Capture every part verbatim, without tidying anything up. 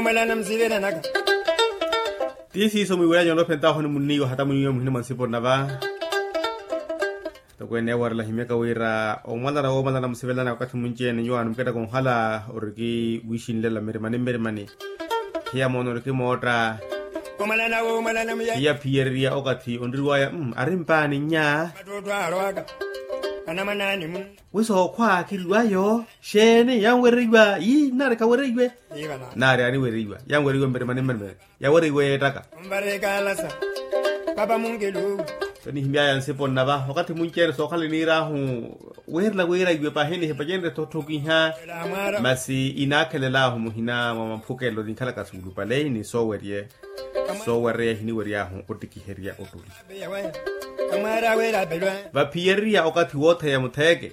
Omalana musivelanaka. Ti siiso mwiiwelanyu olophentaahu ni munniiwa hata muniiwa muhina mwa nsipo nnava. Tokweene yawarela himyaka wira omwalara woomalana musivelana wakathi munci-ene nyuwaani muketta konhala oriki wiixinlela mmirimani mmirimani. Hiya moona oriki mootta. Hiya phiyereriya okathi onriwaya ari mpaani nnya. Wi sookhwa kiriwayo xeeni yanwereiwa yi nnaari kawereiwe. Nnaari aniwereiwa yanwereiwe mmirimani mmirimani. Yawereiwe yeettaka. Onvareka alasa. Papa munkilu. Tonihimyaya nsipo nnava wakathi munci-ene sookhala eniir'ahu. Wiirela wiira iwe pahi nihipacenrye tothokiha. Masi inaakhelel'ahu muhina mwa maphukelelo ninkhalaka suulupale ni soowerye. Soowereya ehiniwery'ahu ottikiherya ottuli. Vaphiyereriya okathi wootheya mutheeke.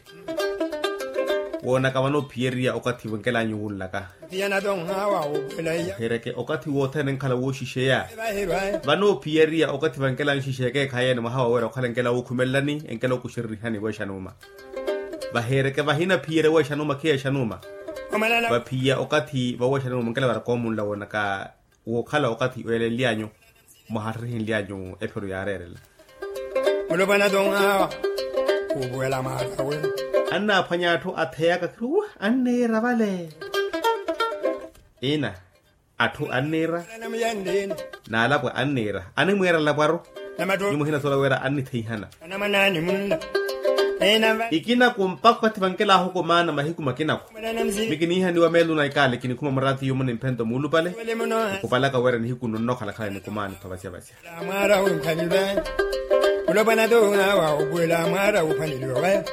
Woonaka vano ophiyereriya okathi vankel'anyu wunlaka. Vaheereke okathi wothene enkhala wooxixeya. Vano ophiyeriya okathi vankel'anyu xixeeke ekhaayi ene mwaha waweera okhala enkela wookhumelelani enkela ookuxerereihani weexa nuuma. Vaheereke vahina phiyere weexa nuuma khiyeexa nuuma. Vaphiya okathi vaweexa nuuma enkela varaka omunla woonaka wookhala okathi oyelenly'anyu mwahaxererihinily'anyu ephiro yaareerela. Mulopwana tonhawa. Khuupuwela mwaara awe. Annaaphwanya atthu atheyaka khiri anniira vale. Ina atthu anniira. Naalapwa anniira animwiira lapwaru. Ni muhina soola wira annithihana. Ikina kumpakha oti vankel'ahu kumaana mahiku makinaku. Mikiniihaniwa meeluna ikaale kinikhuma murathi yumu ni mphento muulupale. Nkupalaka wira nihiku nno nnokhalakhala nikumaani tho vasyavasya. Mwaara wumphanilwe. Mulopwana tonhawa opuwela mwaara wuuphanilwe.